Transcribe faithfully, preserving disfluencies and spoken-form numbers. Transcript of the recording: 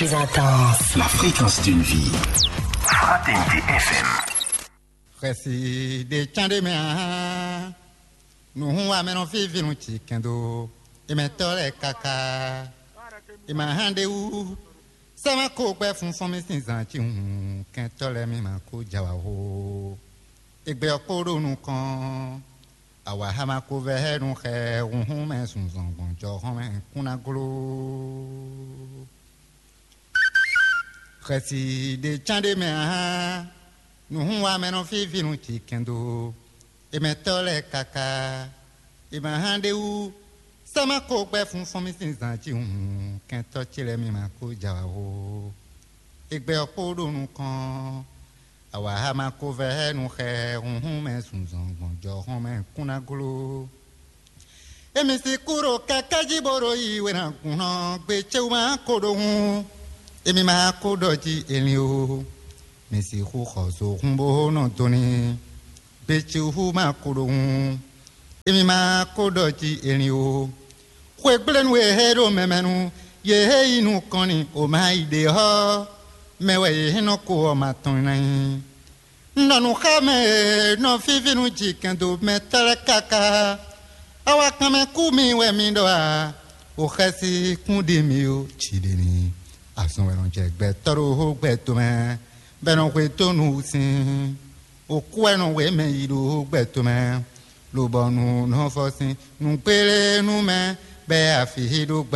Intense. La fréquence d'une vie. Fraternité F M. Xɛsi ɖe cán ɖé mɛ ahán. Nuhun wa mɛ nɔ fífi nu ci kɛndo. Emɛtɔ lɛ kaka. Ema hán ɖe wú. Sɛma ko gbɛ fun fɔn mi sin zan ci hun kɛntɔ lɛ mi ma ko jawa ho. Egbe ɔkpo ɖo nukɔn. Awa hama ko vɛ hɛ nu xɛ hunhun mɛ sunzɔn gbɔn jɔ hɔn mɛ kún ná glo. Xɛsi ɖe cán ɖé mɛ ahán. Nuhun wa mɛ nɔ fífi nu ci kɛndo. Emɛtɔ lɛ kaka. Ema hán ɖe wú. Sɛma ko gbɛ fun fɔn mi sin zan ci hun kɛntɔ ce lɛ mi ma ko jawa ho. Egbe ɔkpo ɖo nukɔn. Awa hama ko vɛ hɛ nu xɛ hunhun mɛ sunzɔn gbɔn jɔ hɔn mɛ kún ná glo. Emi si kú ɖo kɛkɛ́ jí bó ɖo yi wɛn agun nɔ gbe céwu ma ko ɖo hun. Emi ma ko ɖɔ jí elin o. Mi si xú xɔ so hun bó nɔ dɔn ní. Gbe céwu ma ko ɖo hun. Emi ma ko ɖɔ jí elin o. Xwegblenu e hé ɖo mɛmɛnu ye hé yi nukɔn ni o ma yi ɖe hɔ. Mɛ wɛ ye hɛn nɔ ko ɔ ma tɔn ná nyi. Un ɖɔ nǔ xá mɛ e nɔ fífí nú jǐkɛn dó mɛ tɛ́ lɛ́ɛ káká. Awakanmɛ kú mi wɛ mi ɖɔ a? O xɛsi kún ɖi mi ó, jǐ ɖe mi. Azɔn wɛ nɔ jɛ gbɛtɔ́ ɖo gbɛ tomɛ, bɔ è nɔ hwe dó nǔ sin. O kú wɛ nɔ wě mɛ yi ɖo gbɛ tomɛ, lobɔ nǔ nɔ fɔ sin. Nǔgbélé nú mɛ bɔ é afǐ ɖó